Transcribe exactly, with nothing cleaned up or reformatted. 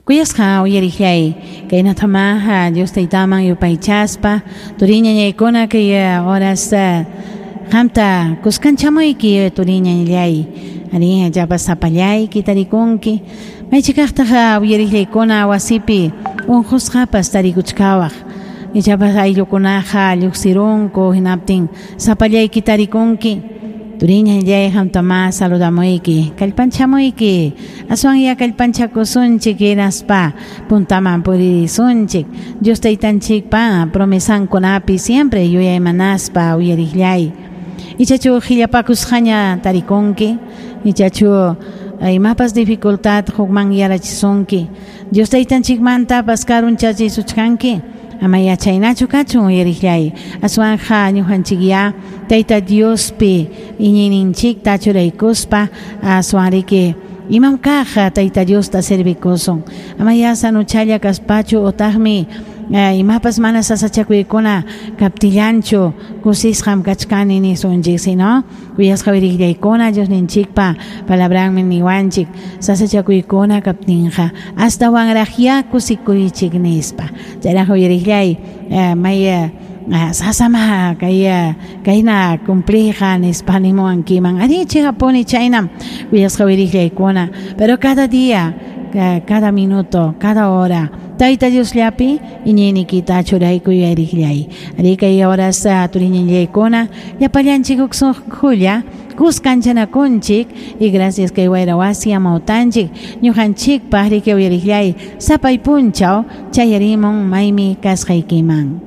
Kuyasqa uyariqllay kaynatama Dios taytaman yupaychaspa turiñañaykuna kay horas qamta kuskanchamayki turiñañallay ari llapas sapallayki tarikunki maychikaqtaq uyariqllaykuna wasipi unqusqapas tarikuchkawaq ichapas ayllukunaqa lluqsirunku hinaptin sapallayki tarikunki turiñallay qamtama saludamuyki kallpanchamuyki aswanya kallpanchakusunchik hinaspa puntaman puririsunchik Dios taytanchikpa promesankunapi siempre yuyaymanaspa uyariqllay ichachu qillapakusqaña tarikunki ichachu imapas dificultad hukman yarachisunki Dios taytanchikmantapas karunchachisuchkanki ama yachaynachu kachun uyariqllay aswanja ñuqanchikya Tayta Diospi iñiyninchikta churaykuspa aswanriki imam kaq Tayta Diosta servikusun ama ya sanuchalla kaspachu utaqmi imapas mana sasachakuykuna kaptillanchu kusisqam kachkani nisunchik sino kuyasqa uyariqllaykuna Diosninchikpa palabranmi niwanchik sasachakuykuna kaptinqa astawanraqya kusikuychik nispa chayraq uyariqllay may sasama kay kayna cumplija nispa nimuwankiman ari chikapuni chaynam kuyasqa uyariqllaykuna pero cada día cada minuto cada hora Tayta Diosllapi iñiyniykita churaykuy uyariqllay ari kay horas turiñallaykuna llapallanchik huk sunqulla kuskanchanakunchik y gracias kay wayra wasi amawtanchik ñuqanchikpaq riki uyariqllay sapay punchaw chayarimun maymi kasqaykiman.